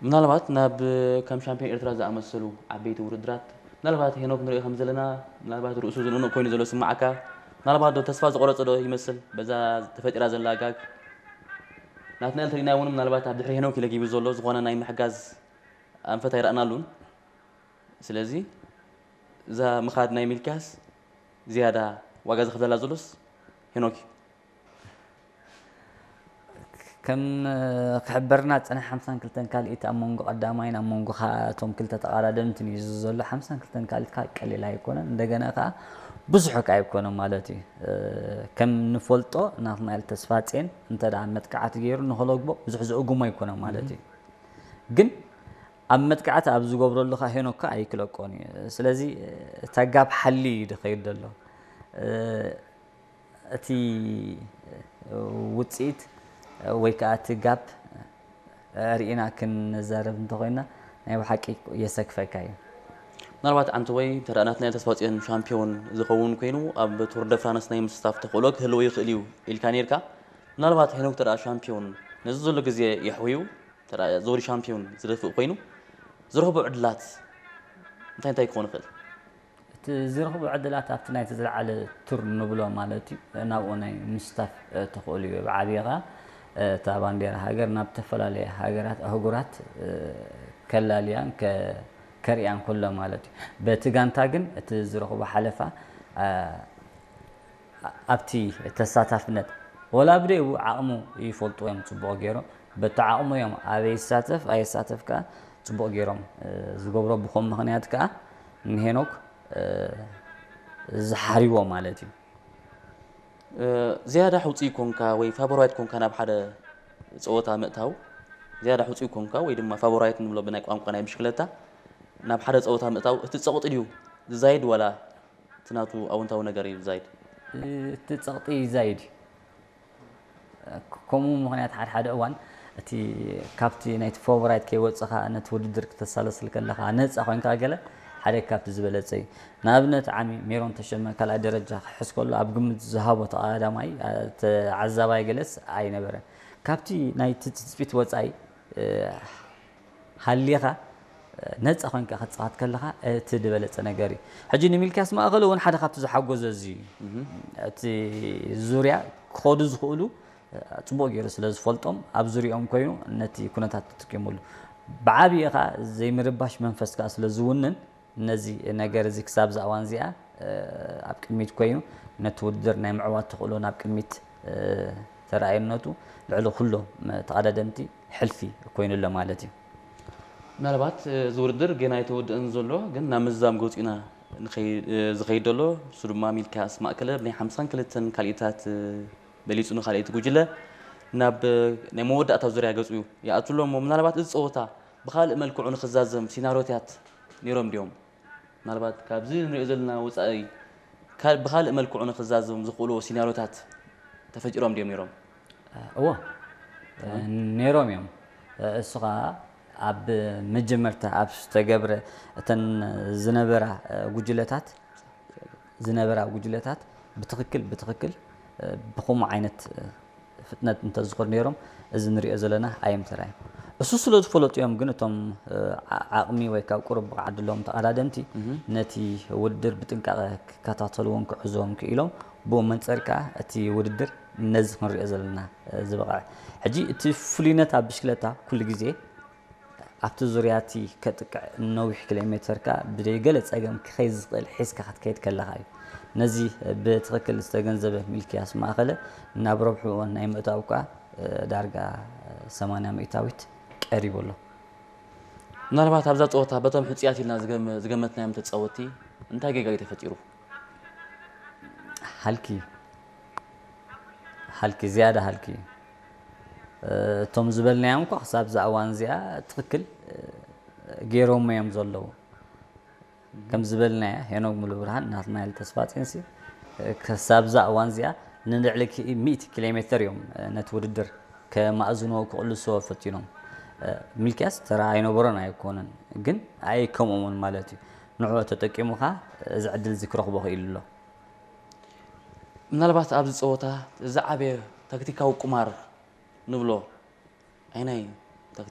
ምናልባት ናብ ከም ሻምፒዮን ኤርትራ ዝኣመሰሉ ዓበይቲ ውድድራት ምናልባት ሄኖክ ንሪኦ ከም ዘለና ምናልባት ርእሱ ዝንእንቕ ኮይኑ ዘሎ ስማዓካ ምናልባት ዶ ተስፋ ዝቆረጸ ዶ ይመስል በዛ ተፈጢራ ዘላ ጋግ ናትናኤል ተሪና እውን ምናልባት ኣብ ድሕሪ ሄኖክ ኢለ ጊቡ ዘሎ ዝኾነ ናይ ምሕጋዝ ኣንፈት ኣይረኣናሉን ስለዚ እዛ ምኻድ ናይ ሚልኪያስ ዝያዳ ዋጋ ዝኽፍለላ ዘሎስ ሄኖክ እዩ ከም ክሕበርና ዝፀንሐ ሓምሳን ክልተን ካልኢት ኣብ መንጎ ቀዳማይን ኣብ መንጎ እቶም ክልተ ተቓዳደምትን እዩ ዘሎ ሓምሳን ክልተን ካልኢት ከዓ ቀሊል ኣይኮነን እንደገና ከዓ ብዙሕ ከዓ ኣይኮነን ማለት እዩ ከም ንፈልጦ ናትናኤል ተስፋጼን እንተ መጥቃዕቲ ገይሩ ንክለግቦ ብዙሕ ዝእጉሞ ኣይኮነን ማለት እዩ ግን ኣብ መጥቃዕቲ ኣብ ዝገብረሉ ከዓ ሄኖክ ከዓ ኣይክለቆን እዩ ስለዚ እታ ጋብ ሓሊ እዩ ዝኸይድ ዘሎ እቲ ውፅኢት ወይ ከዓ እቲ ጋፕ ርኢና ክንዛረብ እንተኮይና ናይ ብሓቂ የሰክፈካ እዩ። ምናልባት ዓንተወይ እንተ ናትናኤል ተስፋጽዮን ሻምፒዮን ዝኸውን ኮይኑ ኣብ ቱር ደ ፍራንስ ናይ ምስታፍ ተኽእሎ ክህልዎ ይኽእል እዩ ኢልካ ነይርካ። ምናልባት ሄኖክ እንተ ሻምፒዮን ነዚ ዘሎ ግዜ የሕውዩ እንተ ዞሪ ሻምፒዮን ዝደፍእ ኮይኑ ዝረኽቦ ዕድላት እንታይ እንታይ ክኾን ይኽእል? እቲ ዝረኽቦ ዕድላት ኣብቲ ናይቲ ዝለዓለ ቱር ንብሎ ማለት እዩ ናብኡ ናይ ምስታፍ ተኽእሉ እዩ ብዓብይኻ እታ ባንዴራ ሃገር ናብ ዝተፈላለየ ሃገራት ኣህጉራት ከላልያን ከርእያን ከሎ ማለት እዩ በቲ ጋንታ ግን እቲ ዝረኽቦ ሓለፋ ኣብቲ ተሳታፍነት ወላ ብደይቡ ዓቕሙ ይፈልጡ እዮም ፅቡቕ ገይሮም በቲ ዓቕሙ እዮም ኣበይ ይሳተፍ ኣይሳተፍ ከዓ ፅቡቕ ገይሮም ዝገብሮ ብኾም ምኽንያት ከዓ ንሄኖክ ዝሓርዎ ማለት እዩ። ዝያዳ ሕውፅይ ኮንካ ወይ ፋቦራይት ኮንካ ናብ ሓደ ፀወታ ምእታው ዝያዳ ሕውፅይ ኮንካ ወይ ድማ ፋቦራይት ንብሎ ብናይ ቋንቋ ናይ ብሽክለታ ናብ ሓደ ፀወታ ምእታው እቲ ፀቕጢ ድዩ ዝዛይድ ዋላ እቲ ናቱ ኣወንታዊ ነገር እዩ ዝዛይድ? እቲ ፀቕጢ ይዛይድ እዩ። ከምኡ ምኽንያት ሓደ ሓደ እዋን እቲ ካብቲ ናይቲ ፎቨራይት ከይወፅኻ ነቲ ውድድር ክተሳለስል ከለኻ ነፃ ኮይንካ ገለ ሓደ ካብቲ ዝበለፀ እዩ ንኣብነት ዓሚ ሜሮን ተሸመ ካልኣይ ደረጃ ክሕዝ ከሎ ኣብ ግምት ዝሃቦ ተቐዳማይ ተዓዛባይ ገለስ ኣይነበረን ካብቲ ናይቲ ትፅቢት ወፃኢ ሃሊኻ ነፃ ኮይንካ ክትፃወት ከለኻ እቲ ዝበለፀ ነገር እዩ። ሕጂ ንሚልክያስ ማእኸል እውን ሓደ ካብቲ ዝሓጎዘ እዚ እዩ። እቲ ዙርያ ክኸዱ ዝኽእሉ ፅቡቕ ገይሩ ስለ ዝፈልጦም ኣብ ዙሪኦም ኮይኑ ነቲ ኩነታት ተጠቂሙሉ። ብዓብዪ ኸዓ ዘይምርባሽ መንፈስ ከዓ ስለ ዝውንን ነዚ ነገር እዚ ክሳብ እዛ እዋን እዚኣ ኣብ ቅድሚት ኮይኑ ነቲ ውድድር ናይ ምዕዋት ተኽእሎ ናብ ቅድሚት ተረኣየነቱ ልዕሊ ኩሎም ተቐዳደምቲ ሕልፊ ኮይኑ ኣሎ ማለት እዩ። ምናልባት እዚ ውድድር ገና ኣይተወድአን ዘሎ ግን ናብ ምዝዛም ገፂኡ ኢና ዝኸይድ ዘሎ እሱ ድማ ሚልክያስ ማእከለ ብናይ ሓምሳን ክልተን ካልኢታት በሊፁ ንካልኣይቲ ጉጅለ ናብ ናይ መወዳእታ ዙርያ ገፁ ይኣቱ ኣሎ እሞ ምናልባት እዚ ፀወታ ብካልእ መልክዑ ንክዛዘም ሲናሮታት ነይሮም ድዮም? ምናልባት ካብዚ ንሪኦ ዘለና ወፃኢ ብካልእ መልክዑ ንክዛዘም ዝኽእልዎ ሲናሪዮታት ተፈጢሮም ድዮም ነይሮም? እዎ ነይሮም እዮም። እሱ ከዓ ኣብ መጀመርታ ኣብ ዝተገብረ እተን ዝነበራ ጉጅለታት ዝነበራ ጉጅለታት ብትኽክል ብትኽክል ብኸምኡ ዓይነት ፍጥነት እንተዝኸዱ ነይሮም እዚ ንሪኦ ዘለና ኣይምተራእየን። እሱ ስለ ዝፈለጡ እዮም ግን እቶም ዓቕሚ ወይ ካብ ቁሩብ ብቕዓት ዘለዎም ተቐዳደምቲ ነቲ ውድድር ብጥንቃቐ ክከታተልዎን ክዕዝዎም ክኢሎም ብኡ መንፀር ከዓ እቲ ውድድር ነዚ ክንሪኦ ዘለና ዝበቕዐ። ሕጂ እቲ ፍሉይነት ኣብ ብሽክለታ ኩሉ ግዜ ኣብቲ ዙርያ እቲ ከጥቅዕ ነዊሕ ኪሎ ሜተር ከኣ ብደይ ገለ ጸገም ክኸይድ ዝኽእል ሒዝካ ክትከይድ ከለኻ እዩ። ነዚ ብትኽክል ዝተገንዘበ ሚልክያስ ማእኸለ ናብ ረብሕኡ ናይ ምእታው ከኣ ዳርጋ ሰማንያ ሚእታዊት ቀሪቡ ኣሎ። ምናልባት ኣብዛ ጸወታ በቶም ሕጹያት ኢልና ዝገመትናዮም ተጻወትቲ እንታይ ጌጋ እዩ ተፈጢሩ? ሃልኪ ሃልኪ ዝያዳ ሃልኪ እቶም ዝበልናዮም እኳ ክሳብ እዛ እዋን እዚኣ ትኽክል ገይሮሞ እዮም ዘለዉ ከም ዝበልናያ ሄኖግ ሙሉብርሃን ናትናኤል ተስፋጼንሲ ክሳብ እዛ እዋን እዚኣ ንልዕሊ ሚእቲ ኪሎ ሜትር እዮም ነቲ ውድድር ከማእዝንዎ ክቕልስዎ ፈቲኖም ሚልክያስ ተራ ኣይነበሮን ኣይኮነን ግን ኣይ ከምኦም እውን ማለት እዩ ንዕኡ ተጠቂሙ ኸዓ እዚ ዕድል እዚ ክረኽቦ ክኢሉ ኣሎ። ምናልባት ኣብዚ ፀወታ ዝዓበየ ታክቲካዊ ቁማር ንብሎ ኣይናይ